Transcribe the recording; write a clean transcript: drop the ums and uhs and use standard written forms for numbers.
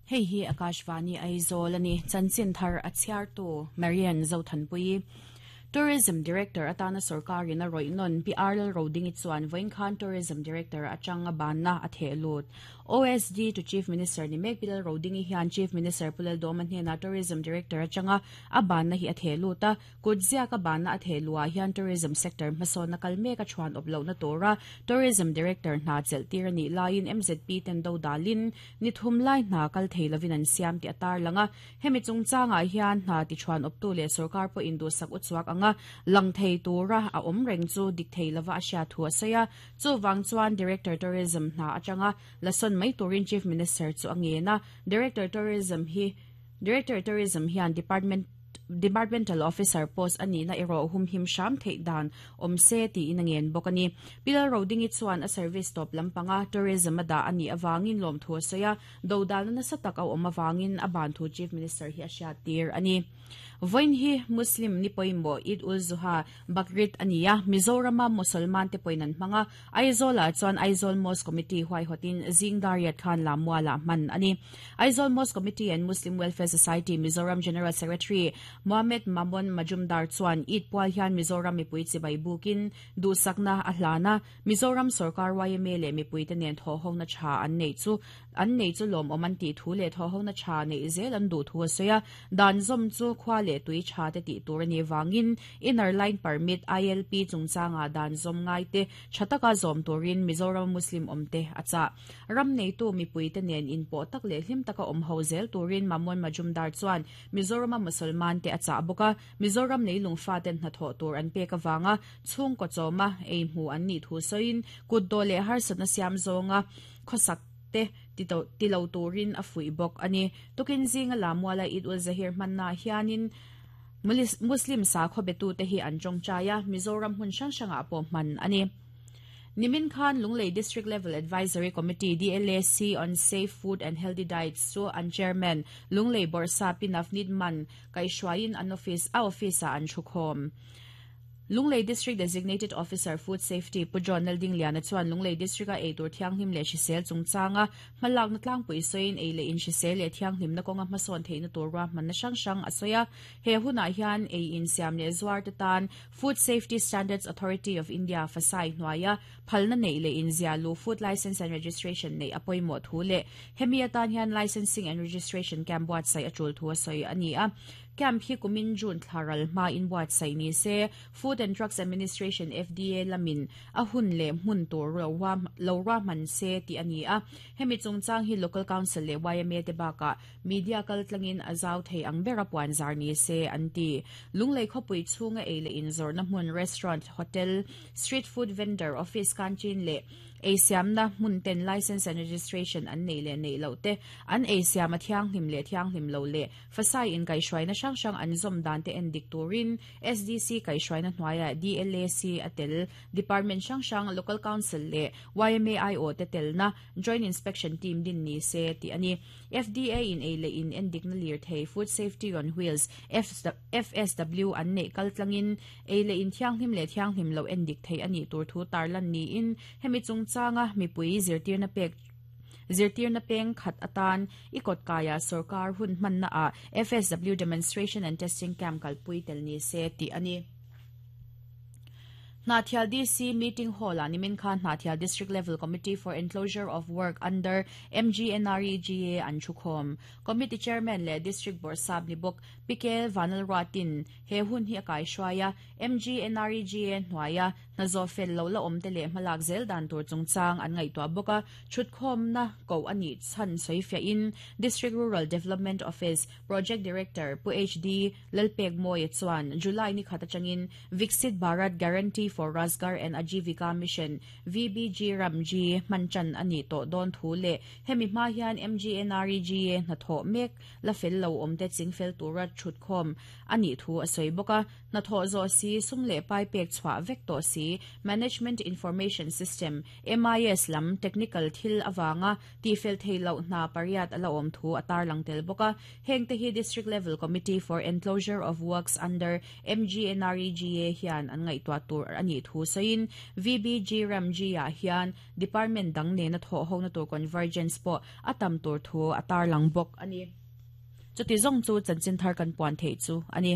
Hei hi Akashvani Aizawl a ni. Chanchin thar a chhiartu Marian Zothanpuii. Tourism Director atana sorkarin a rawih nawn Pi Arlal Rodingi chuan vawiin khan Tourism Director atanga banna a theh lut. OSD to Chief Minister ni mek Pi Lal Rodingi hian Chief Minister Pu Laldawma hnenah Tourism Director atanga a banna hi a theh lut a. Kut ziaka banna a theh luhah hian tourism sector hmasawnna kal mek a chhuan awp lohna tura Tourism Director hna chelh tir a nih laiin MZP ten do dalin ni thum lai hna kal thei lovin an siam tih a tarlang a. Hemi chungchangah hian hna ti chhuan awptu leh sorkar pawhin duhsak uchuak anga lang thei tura a awm reng chu dik thei lova a hriat thu a sawi a. Chuvang chuan Director Tourism hna atanga la sawn mai turin Chief Minister chu a ngen a. Director Tourism hi Director Tourism hian Department Departmental Officer post a nihna erawh humhim hram theih dan awm se tiin a ngen bawk a ni. Pi Lalrodingi chuan a service tawp lampanga tourism a dah a nih avangin lawmthu a sawi a, dodalna nasa tak a awm avangin a ban thu Chief Minister hi a hriattir a ni. Vawiin hi Muslim ni pawimawh Eid ul Zuha, Bakrid a ni a, Mizorama Mosolman te pawhin an hmang a, Aizawl-ah chuan Aizawl Mosque Committee huaihawtin zing dariat khan Lammualah hman a ni. Aizawl Mosque Committee and Muslim Welfare Society Mizoram General Secretary Mohammed Mamon Majumdar chuan Eid pual hian Mizoram mipui chibai bukin duhsakna a hlan a, Mizoram sorkar yma leh mipuite nen thawhhona tha an neih chu an nei chu lawmawm an tih thu leh thawhhona tha neih zel an duh thu a sawi a. Dan zawm chu khua leh tui tha te tih tur a nih vangin Inner Line Permit, ILP, chungchangah dan zawm ngaite tha taka zawm turin Mizorama Muslim awmte a chah. Ram neitu mipuite nen inpawh tak leh hlim taka awm ho zel turin Mamon Majumdar chuan Mizorama Musalman te a chah bawk a, Mizoram leilung faten hnathawh tur an pek avanga chhungkaw chawma ei hmu an nih thu sawiin kutdawh leh harsatna siam zawnga khawsak te ti lo turin a fuih bawk a ni. Tukin zinga Lamuala Eid ul Zahir hmannaah hianin Muslim sakhaw betute hi an tawngtai a, Mizoram hmun hrang hrangah pawh hman a ni. Nimin khan Lunglei District Level Advisory Committee, DLAC, on Safe Food and Healthy Diets chu an Chairman, Lunglei Bawrhsa Pi Navneet Mann kaihhruaiin an office a office-ah an thukhawm. Lunglei District Designated Officer Food Safety Pu John Laldingliana chuan Lunglei District-a eitur thianghlim leh hrisel chungchanga hmalakna tlangpui sawiin ei leh inhrisel leh thianghlimna kawnga hmasawn theihna tur ruahmanna hrang hrang a sawi a. He hunah hian ei insiam leh zuarte tan Food Safety Standards Authority of India, FSAI, hnuaia phalna neih leh inziah luh Food Licence and Registration neih a pawimawh thu leh hemi atan hian Licensing and Registration Camp buatsaih a tul thu a sawi a ni a. Camp hi kumin June thla ral hmain buatsaih ni se, Food and Drugs Administration, FDA, lamin a hun leh hmun tur lo ruahman se tih a ni a. Hemi chungchang hi Local Council leh yma te bakah Media kal tlangin a zau thei ang bera puan zar ni se an ti. Lunglei khawpui chhunga ei leh inzawrhna hmun, restaurant, hotel, street food vendor, office canteen leh ei siamna hmun ten licence and registration an neih leh neih loh te, an ei siam a thianghlim leh thianghlim lo leh fasai inkaihhruaina hrang hrang an zawm dan te en dik turin SDC kaihhruaina hnuaiah DLAC a tel department hrang hrang, local council leh yma aiawh te telna joint inspection team din ni se tih a ni. FDA in ei leh in endikna lirthei Food Safety on Wheels, FSW, an neih kal tlangin ei leh in thianghlim leh thianghlim loh endik theih a nih tur thu tarlan niin hemi chungchanga mipui zirtirna pek zirtirna peng khat atan i kawtkaiah sorkar hun hmannaah FSW Demonstration and Testing Camp kalpui tel ni se tih a ni. Hnahthial DC Meeting Hall-ah nimin khan Hnahthial District Level Committee for Enclosure of Work under MGNREGA an thukhawm. Committee Chairman leh District Bawrhsap ni bawk Pi Kel Vanlalruatin he hun hi a kaihruai a, MGNREGA hnuaia hna zawh fel lo la awmte leh hmalak zel dan tur chungchang an ngaihtuah bawk a, thutkhawmna koh a nih chhan sawifiahin District Rural Development Office Project Director Pu HD Lalpekmawia chuan July ni khat atangin Viksit Bharat Guarantee for Rozgar and Ajeevika Mission, VBG Ramji, hman tan a nih tawh dawn thu leh hemi hma hian MGNREGA hnathawh mek la fel lo awmte chingfel tura thutkhawm a nih thu a sawi bawk a. Hnathawh zawh si, sum leh pai pek chhuah vek tawh si. si, Management Information System, MIS, lam technical thil avanga tihfel theih loh hna pariat a la awm thu a tarlang tel bawk a. Heng te hi District Level Committee for Enclosure of Works under MGNREGA hian an ngaihtuah tur a nih thu sawiin VBG Ramji-ah hian Department dang nena thawh hona tur convergence pawh a tam tur thu a tarlang bawk a ni. Chuti zawng chu chanchin thar kan puan theih chu a ni.